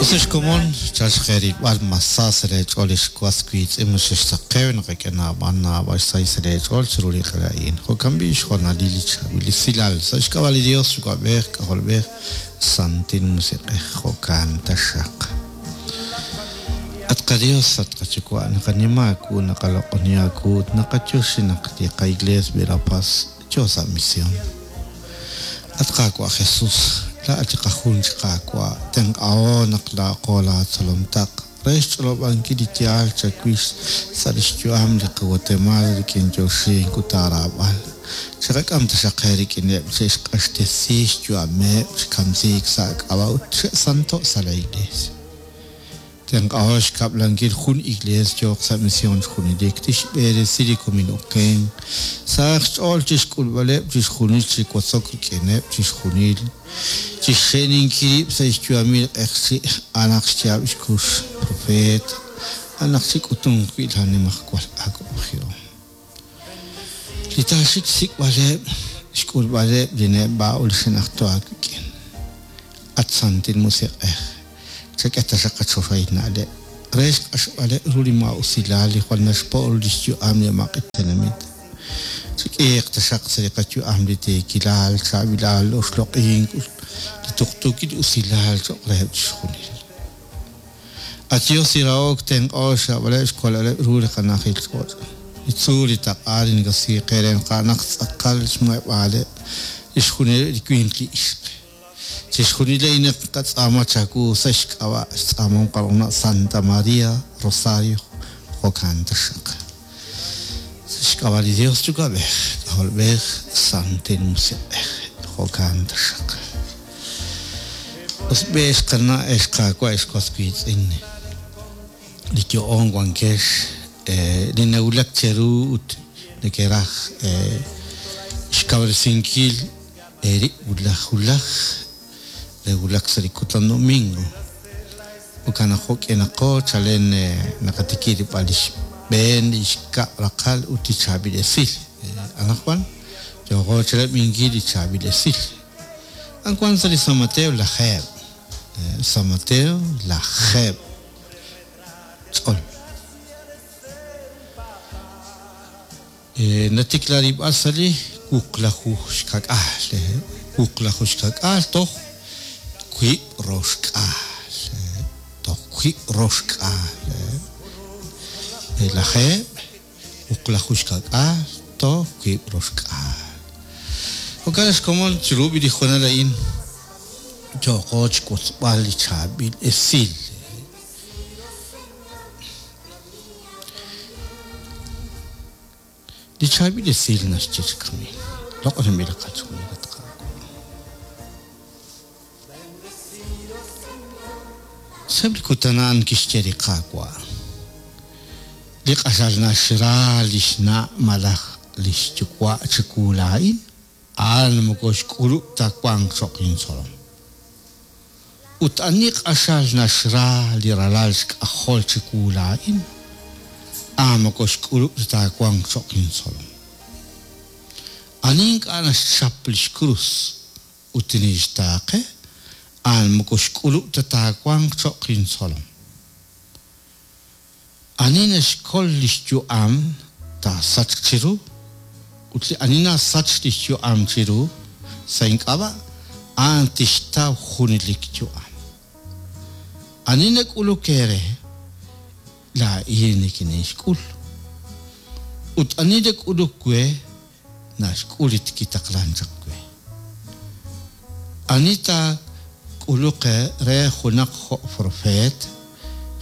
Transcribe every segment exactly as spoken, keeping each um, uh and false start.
Usex komon chalk xqerilb'al masa sa' leech'ool li xwas wiitz'in xexsaqew naqak'e naab'al naab'al xsahil sa' leech'ool chiru li q'ala'in. Jo'kan b'i' xjoonalil li chaab'il esilal sa' xk'ab'a' li Dios Yuwa'b'ej K'ajolb'ej Santil Musiq'ej jo'kan taxaq. At qaDios at qaYuwa' naqanima aawu naqaloq'oni aawu ut naqayoxi naq li qaiglees Verapaz yo sa' misión. At Qaawa' Jesús, laa'at li qajun chi Qaawa' tenq'aho naq laaqo laatzolomtaq re xch'olob'ankil li yaal chawix sa' lix yu'am li qaGuatemala rik'in yoxink ut aaraab'al. Chiqak'am taxaq qe rik'ineb' che'xq'axtesi xyu'ameb' chi kamsiik sa' k'ab'a' ut che'santo' sa' la iglesia. Tenq'aho xkab'lankil jun iglees yooq sa' misión junelik tixb'eresi li komin oken sahaq xch'ool chixk'ulb'aleb' chixjunil chi wotzok rik'ineb' chixjunil chixxe'ninkil rib' sa' xyu'amil q'eqchi' a'anaq xyaab' xkux profeet a'anaq chik'utunq wi' la nimajwal awab'ejihom. Li taaxik xsik'b'aleb' xk'ulb'aleb' li neb'a' ut li xe'najto aawik'in. At Santil Musiq'ej, chak'e taxaq qachoxahil na'leb' re xq'axb'aleb' ru li maa'usilal li jwal naxpo' ru li xyu'am li amaq'il tenamit. Chik'iiq taxaq sa' li qayu'am li tiikilal, chaab'ilal, oxloq'ink ut li tuqtuukil usilal cho'q reheb' chixjunil. At Dios li rahok tenq'o xrab'aleb' xkolaleb' ru li qanajil ch'och'. Li tzuul li taq'a li nakasiiq re naq tz'aqal xmuheb'aaleb' li xjunileb' li winq li ixq. Chixjunil a'in qatz'aama chawu sa' xk'ab'a' xtz'aamom qarona Santa María Rosario jo'kan taxaq. Sa' xk'ab'a' li Dios Yuwa'b'ej, K'ajolb'ej, Santil Musiq'ej jo'kan taxaq. Us b'e xqana' xqaawa' xwas wiitz'in li yo'on wankex li nawulak cheru ut nekeraj xkawresinkil eerib' wulaj wulaj re wulak sa' li kutan domingo. Jo'kan naq jo'k'inaqo chalen naqatikib' rib'al li xb'een li xkab' raqal ut li chaab'il esil. Anaqwan yooqo chirab'inkil li chaab'il esil. Anwan sa' li San Mateo lajeeb'. San Mateo lajeeb' tz'ol. Natikla rib'al sa' li wuqlaju xkak'al. Wuqlaju xkak'al toj wiib' roxk'al. Toj wiib' roxk'al. Lajeeb' wuqlaju xkak'al toj wiib' roxk'al. Jo'kan xkomon chiru li joonal a'in yooqo xwotzb'al li chaab'il esil. Li chaab'il esil naxye chi kami. Loq'onb'il qach'uul at Qaawa'. Sa'eb' li kutan a'an kixye li Qaawa'. Li q'axal naxra li xna' malaj li xyuwa' chiwu laa'in, a'an moko xk'ulub' ta wanq cho'q intzolom. Ut ani q'axal naxra li ralal xk'ajol chiwu laa'in, a'an moko xk'ulub' ta wanq cho'q intzolom. Ani ink'a' naxchap li xkrus ut tinixtaaqe, a'an moko xk'ulub' ta taawanq cho'q intzolom. Ani naxkol li xyu'am taasachq chiru, ut li ani nasach li xyu'am chiru sa' ink'ab'a' a'an tixtaw junelik yu'am. Ani nak'uluk eere laa'in nikinixk'ul. Ut ani nak'uluk we naxk'ul li kitaqlan chaq we. Ani taak'uluq re junaq jo' profeet,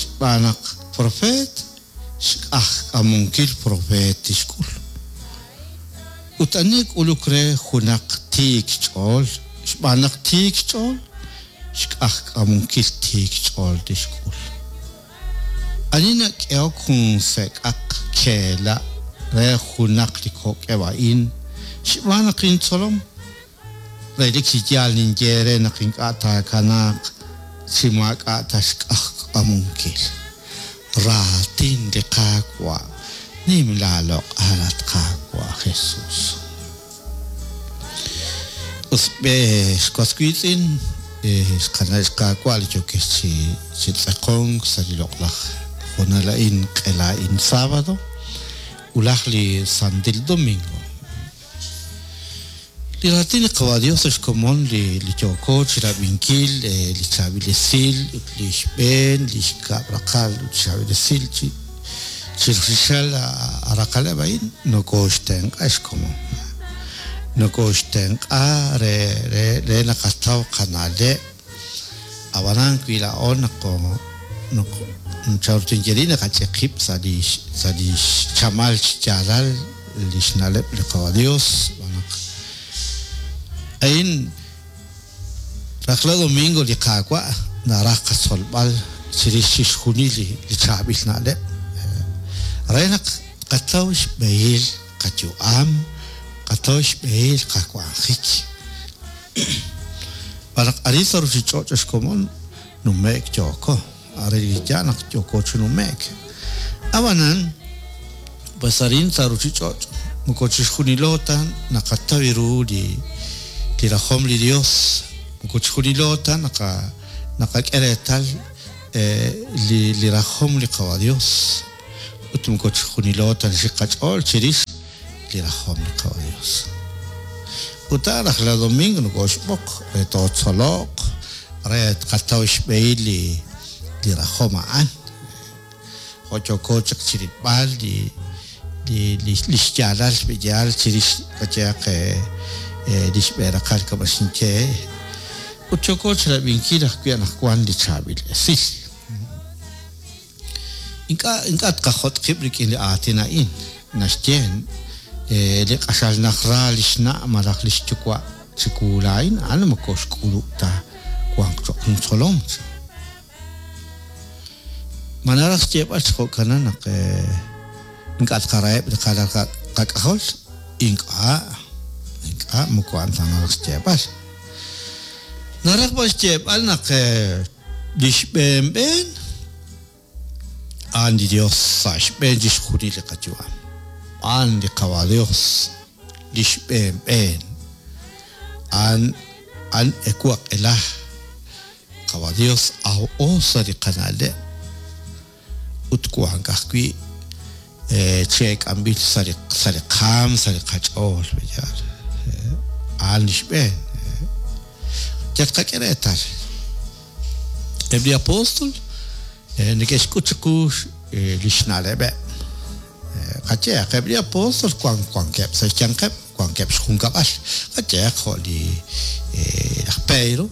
xb'aan naq profeet xk'ajk'amunkil profeet tixk'ul. Ut ani k'uluk re junaq tiik xch'ool, xb'aan naq tiik xch'ool, xk'ajk'amunkil tiik xch'ool tixk'ul. Ani nak'ehok jun sek'aq keela' re junaq li kok'eb' a'in, xb'aan naq intzolom, relik chi yaal ninye re naq ink'a' taakanaaq chi maak'a' ta xk'ajk'amunkil. Raatin li Qaawa' nim laaloq'al at Qaawa' Jesús. Us b'e xwas wiitz'in Xqana' xqaawa' li yokex chi chi tz'aqonk sa' li loq'laj hoonal a'in q'ela a'in sábado ulaj li santil domingo. Li raatin li Qawa' Dios xkomon li li yooko chirab'inkil li chaab'il esil ut li xb'een li xkab' raqal ut chaab'il esil chi chirixal araqaleb' a'in nokooxtenq'a xkomon. Nokooxtenq'a re re re naqataw qana'leb' ab'anan wi laa'o naqo naq chawrtinyeri naqach'eqib' sa' li sa' li xchamal xyaalal li xna'leb' li Qawa' Dios b'anaq a'in rajlal domingo li Qaawa' naraj qatzolb'al chirix chixjunil li chaab'il na'leb' re naq qataw xb'ehil qayu'am qataw xb'ehil qawanjik b'anaq arin sa' ruchich'och' xkomon nume'k yooko are li ya naq yooko chi nume'k ab'anan pues arin sa' ruchich'och' moko chixjunilo ta naqataw ru li li rajom li Dios moko chixjunilo ta naqa naqak'e reetal li li rajom li Qawa' Dios ut moko chixjunilo ta nxiqach'ool chirix li rajom li Qawa' Dios. Ut rajlal domingo nokooxb'oq re tootzoloq re tqataw xb'ehil li li rajom a'an jo' yooko chaq chirilb'al li li li xyaalal xb'eyal chirix qayehaq li xb'e raqal kab'axinche ut yooko chirab'inkil ajwi' anaqwan li chaab'il esil. Ink'a' ink'a' tqajot' qib' rik'in li aatin a'in naxye li q'axal najra li xna' malaj li xyuwa' chiwu laa'in a'an moko xk'ulub' ta wanq cho'q intzolom. Ma naraj xyeeb'al chi jo'kanan naq ink'a' tqaraheb' li qalal qak'ajol ink'a' ink'a' moko a'an ta naraj xyeeb'al. Naraj b'an xyeeb'al naq li xb'een b'een a'an li Dios sa' xb'een chixjunil li qayu'am. A'an li Qawa' Dios li xb'een b'een a'an a'an ewu aq'ela Qawa' Dios aw'o sa' li qana'leb' ut wank ajwi' che'k'amb'il sa' li sa' li qaam sa' li qach'ool b'eyal a'an li xb'een. Yal tqak'e reetal eb' li apóstol neke'xk'ut chiqu li xna'leb'eb'. Qayehaq eb' li apóstol wank wankeb' sa' xyanqeb' wankeb' xjunkab'al qayehaq jo' li laj Pedro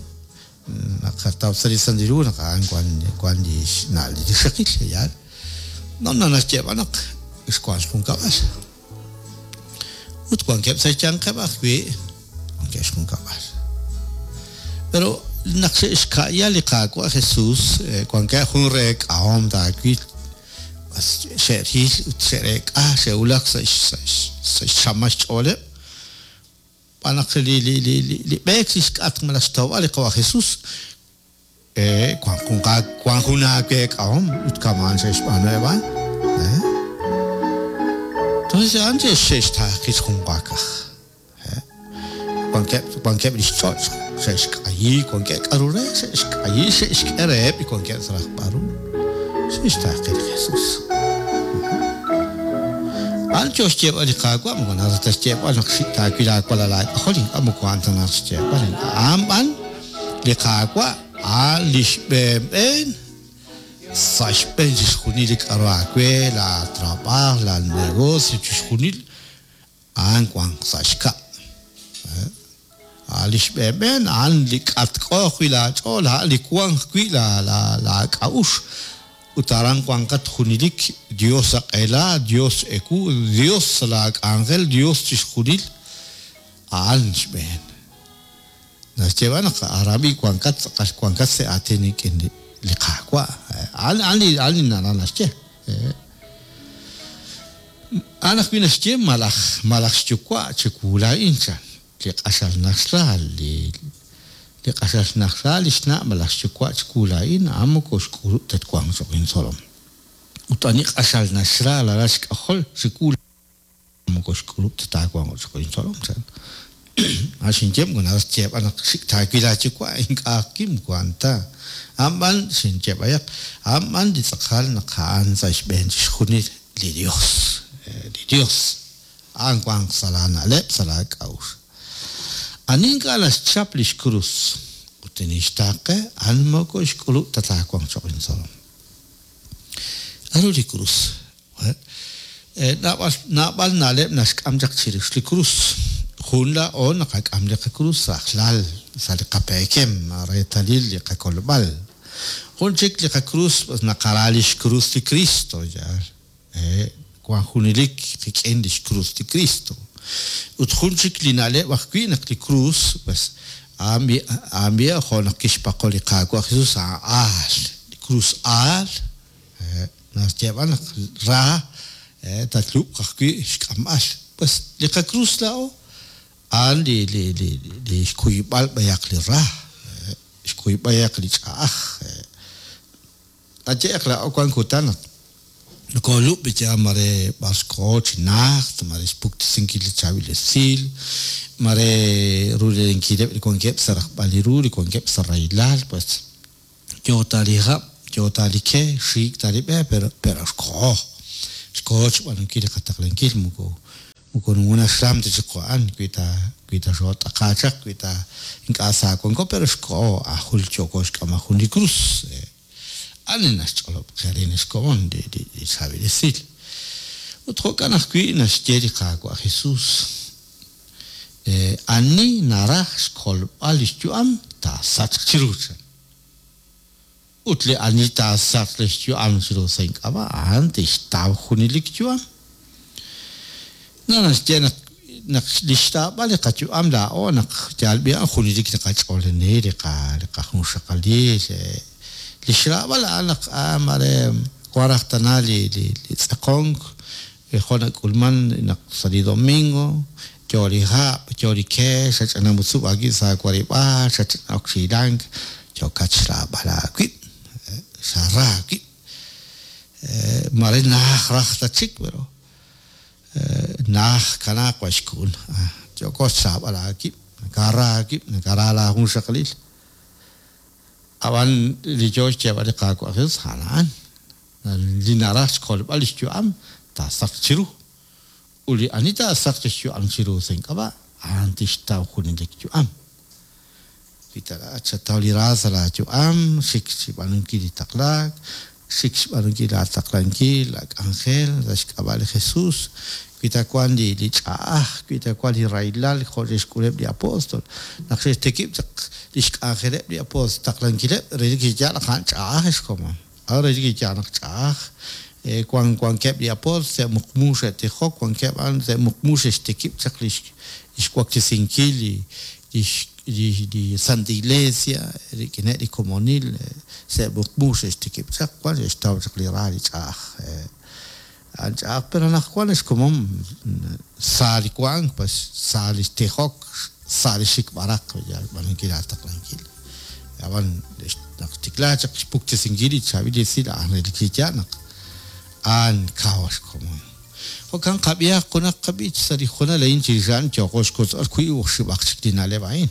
naqataw sa' li Santil Hu naq a'an wan wan li xna' li rixaqil yaal no no naxyeeb'al naq xwank xjunkab'al ut wankeb' sa' xyanqeb' ajwi' wankeb' xjunkab'al. Pero naq xe'xka'ya li Qaawa' Jesús wankeb' jun reek'ahom taawil bas xe'ril ut xe'reek'a xe'wulak sa' sa' xchamal xch'ooleb' b'anaq li li li li b'eek li xk'atq malaj xtawb'al li Qawa' Jesús eh wank jun wank jun aaweek'ahom ut kamaan xe'xb'aanu a'an. Entonces a'an xe'xtaaqi xjunwaakaj wankeb' wankeb' li xch'och' xe'xk'ayi wankeb' k'aru re xe'xk'ayi xe'xk'e reheb' li wankeb' sa' rajb'al ru xe'xtaaqi li Jesús. A'an yo xyeeb'al li Qaawa' moko naraj ta xyeeb'al naq taawil aawalal aak'ajol ink'a' moko a'an ta naraj xyeeb'al a'an b'an li Qaawa' a'an li xb'een b'een sa' xb'een chixjunil li k'aru aawe la trabajo la negocio chixjunil a'an wank sa' xkab'. A'an li xb'een b'een a'an li k'atk'o ajwi' laach'ool a'an li wank ajwi' la la laak'a'ux ut aran wanqat junelik Dios aq'ela Dios ewu Dios laak'anjel Dios chixjunil a'an xb'een. Naxyeeb'al naq aran b'i wankat tz'aqal wankat sa' aatin rik'in li Qaawa' a'an a'an li a'an li naraj naxye. A'an ajwi' naxye malaj malaj xyuwa' chiwu laa'in chan li q'axal naxra li li q'axal naxra li xna' malaj xyuwa' chiwu laa'in a'an moko xk'ulub' ta twanq cho'q intzolom. Ut ani q'axal naxra lalal xk'ajol chiwu moko xk'ulub' ta taawanq cho'q intzolom chan. Xinye moko naraj xyeeb'al naq xik' taawil aayuwa' ink'a' kim wan ta. A'an b'an xinye b'ayaq, a'an b'an li tz'aqal naq a'an sa' xb'een chixjunil li Dios. Li Dios a'an wanq sa' laana'leb', sa' laak'a'uxl. Ani ink'a' naxchap lix krus ut tinixtaaqe, a'an moko xk'ulub' ta taawanq cho'q intzolom. K'aru li krus? Naab'al naab'al na'leb' naxk'am chaq chirix li krus. Jun laa'o naqak'am li qakrus rajlal sa' li qapeekem reetalil li qakolb'al. Jun chik li qakrus naqara lix krus li Cristo yaal. Wan junelik qik'in lix krus li Cristo. Ut jun chik li na'leb' ajwi' naq li krus pues a'an b'i jo' naq kixpaqo li Qaawa' Jesus a'an aal. Li krus aal naxyeeb'al naq ra tatlub'q ajwi' xk'amb'al. Pues li qakrus laa'o a'an li li li li xkuyb'al b'ayaq li ra, xkuyb'al b'ayaq li ch'a'aj. Aye'q laa'o wan kutan naq nokoolub' ya mare b'ar xkoho chi najt, mare xpuktesinkil li chaab'il esil, mare rulelenkileb' li wankeb' sa' rajb'al li ru, li wankeb' sa' rahilal, pues yoo ta li hab', yoo ta li ke, xiik ta li b'e, pero pero xkoho. Xkoho xb'aanunkil li qataqlankil moko moko naxram ta chiqu a'an wi ta wi ta xoot'aqa chaq, wi ta ink'a' sa wanko, pero xkoho ajul yooko xk'ama jun li krus. Ani naxch'olob' qe rin xkomon li li chaab'il esil. Ut jo'kan ajwi' naxye li Qaawa' Jesus. Ani naraj xkolb'al lix yu'am taasachq chiru chan. Ut li ani taasachq lix yu'am chiru sa' ink'ab'a' a'an tixtaw junelik yu'am. Na naxye naq naq li xtaab'al li qayu'am laa'o naq yal b'i a'an junelik li qach'oolani li qa li qajunxaqalil li xraab'al a'an naq mare wan raj tana li li li tz'eqonk jo' nak'ulman naq sa' li domingo yo li hab', yo li ke, xach'ana mutzub' aawib' sa' warib'aal, xach'ana ok xilank, yookat xraab'al aawib', xara aawib'. Mare naj raj ta chik, pero naj kanaaq wa xkun. Yooko xraab'al aawib', nakara aawib', nakara laajunxaqalil. Ab'an li yoo xyeeb'al li Qaawa' Jesus a'an li naraj xkolb'al lix yu'am taasachq chiru. Ut li ani taasachq lix yu'am chiru sa' ink'ab'a' a'an tixtaw junelik yu'am. Wi ta xataw li ra sa' laayu'am, xik xb'aanunkil li taqlaak, xik xb'aanunkil laataqlankil, laak'anjel sa' xk'ab'a' li Jesus, wi ta wan li li ch'a'aj, wi ta wan li rahilal jo' xe'xk'uleb' li apóstol. Naq xe'xtikib' chaq li xk'anjeleb' li apóstol taqlankileb' relik chi yaal naq a'an ch'a'aj xkomon. A'an relik chi yaal naq ch'a'aj. Wan wankeb' li apóstol se'muqmu xe'tijok, wankeb' a'an se'muqmu xe'xtikib' chaq li xwaklesinkil li li li Santa Iglesia rik'ineb' li komonil se'muqmu xe'xtikib' chaq wan xe'xtaw chaq li ra li ch'a'aj. A'an ch'a'aj, pero naq wan xkomon sa li wank, pues sa li tijok, sa li xik b'araq yal b'aanunkil laataqlankil. Ab'an naq tiklaa chaq xpuktesinkil li chaab'il esil a'an relik chi yaal naq a'an kaw xkomon. Jo'kan qab'ihaq junaq qab'ich sa' li junal a'in chirix a'an yooko xkotz'b'al wiib' oxib'aq chik li na'leb' a'in.